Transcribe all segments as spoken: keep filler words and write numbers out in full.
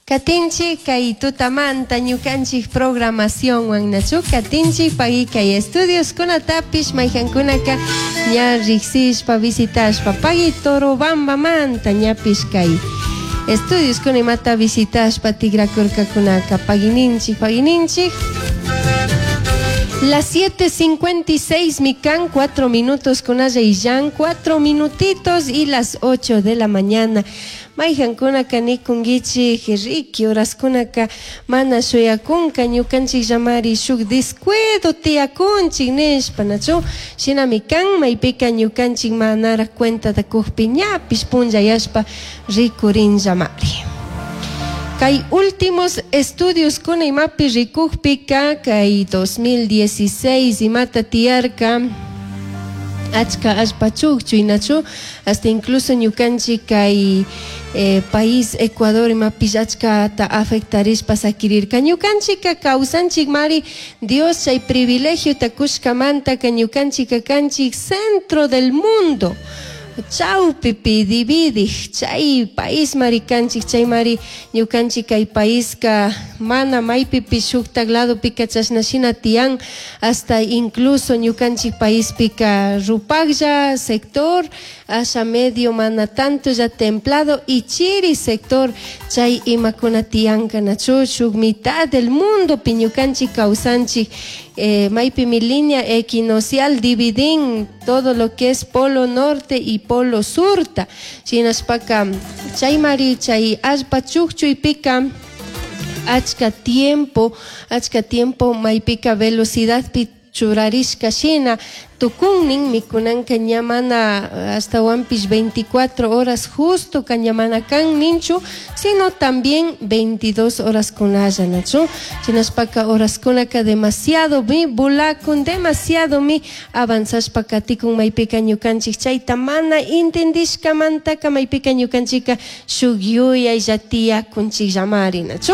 Katinchik kay tutamanta ñukanchik programacionwan nachu katinchik pagui kay estudios kunatapish mayjankunaka ña riksishpa visitashpa pagui Torobambamanta ñapish kay estudios kuna imata visitashpa tigrakurkakunaka paguininchik paguininchik. Las siete cincuenta y seis mican, cuatro minutos con illan, cuatro minutitos y las ocho de la mañana. Mayjankunaka nikunkichik riki horaskunaka mana shuyakunka ñukanchik llamari shuk descuido tiyakunchik nishpa nachu shinami kan maypika ñukanchik manara cuentata kukpi ñapish punllayashpa rikurin llamari. Kay últimos estudios kuna imapi rikukpika kay dos mil dieciséis imata tiyarka achka allpa chukchuy nachu hasta incluso ñukanchik kay eh, país Ecuador imapish achkata afectarishpa sakirirka. Ñukanchika kawsanchik mari Dios chay privilegiota kushkamantaka ñukanchika kanchik centro del mundo chawpipi dividik chay país mari kanchik. Chay mari ñukanchik kay paiska mana maypipish shuktak ladopika chashna shina tiyan. Hasta incluso ñukanchik paispika rupaklla sector asha medio mana tanto ya templado y chiri sector chay imakuna tiyanka nachu shuk mitad del mundo pi ñukanchik kawsanchik eh, maypimi línea equinocial dividin todo lo que es polo norte y polo surta. Shinashpaka chay mari chay allpa chukchuypika achka tiempo achka tiempo maypika velocidadpi churarishka shina tukunnin mikunanka ña mana ashtawanpish veinticuatro horas justo ka ña mana kan ninchu, sino también veintidós horas kunalla nachu. Shinashpaka horaskunaka demasiado mi bulakun, demasiado mi avanzashpa katikun maypika ñukanchik chayta mana entendishkamantaka maypika ñukanchika shuk yuyaylla tiyakunchikllamari nachu.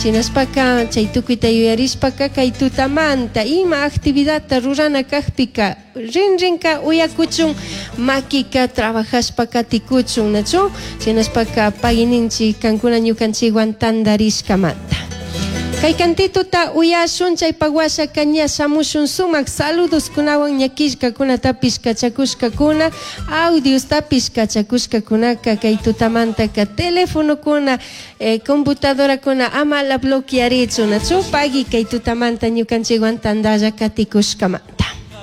Shinashpaka chay tukuyta yuyarishpaka kay tutamanta ima actividadta rurana kakpika rinrinka uyakuchun, makika trabajashpa katikuchun nachu. Shinashpaka paguininchik kankuna ñukanchikwan tandarishkamanta. Kay kantituta uyashun, chaypak washaka ña shamushun sumak saludoskunawan ña killkakunatapish kachakushkakuna, audiostapish kachakushkakunaka. Kay tutamantaka telefonokuna eh, computadorakuna ama la bloquearichu nachu. Pagui kay tutamanta ñukanchikwan tandalla katikushkamanta.